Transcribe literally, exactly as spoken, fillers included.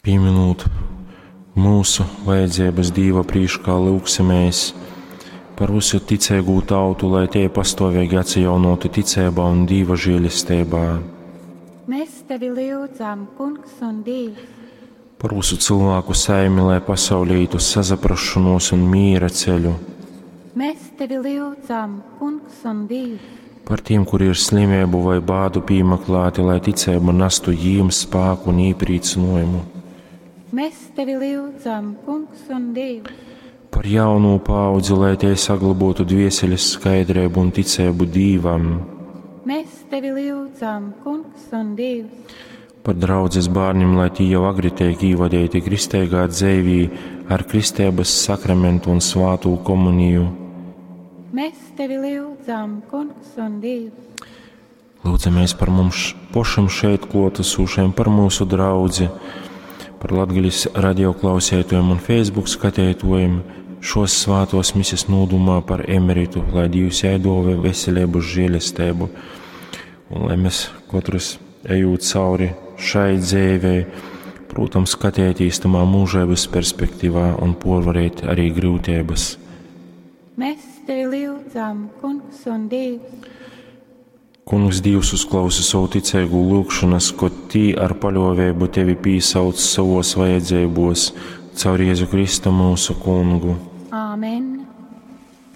Pīminūt mūsu vajadzības Dīva prīškā, lyugsimēs par visu ticeigū tautu, lai tie pastāvīgi atsajaunotu ticeibā un Dīva žēlesteibā. Mēs tevi lyudzam, Kungs un Dievs. Par visu cilvēku saimi, lai pasaulē ītu sazaprašanos un mīra ceļu. Mēs tevi lyudzam, Kungs un Dievs. Par tiem, kuri ir slimību vai bādu pīmeklāti, lai ticība nestu jīm spāku un īprīcinājumu. Mēs tevi lyudzam, Kungs un Dievs. Par jaunu paudzi, lai tie saglabotu dvieseles skaidrību un ticību Dīvam. Mēs tevi lyudzam, Kungs un Dievs. Par draudzes bērniem, lai tie jau agri tiek īvadīti kristīgā dzēvī ar kristības sakramentu un svātū komuniju. Mēs tevi lyudzam, Kungs un Dievs. Lūdzamies par mums pošam šeit klātesošiem, par mūsu draudzi, par Latgalis radioklausētojiem un Facebook skatētojiem šos svātos mises nūdumā par emeritu, lai Dievs jai dove veselību, žēlestību, un lai mēs katrs ejot cauri šai dzīvei, protams, skatēties tamā mūžības perspektīvā un porvarēt arī grūtības. Mēs tevi lyudzam, Kungs un Dievs. Kungs Dievs uzklausa savu ticīgu lūgšanas, ko tī ar paļāvību tevi pīsauc savos vajadzībos, caur Jēzu Kristu mūsu kungu. Āmen.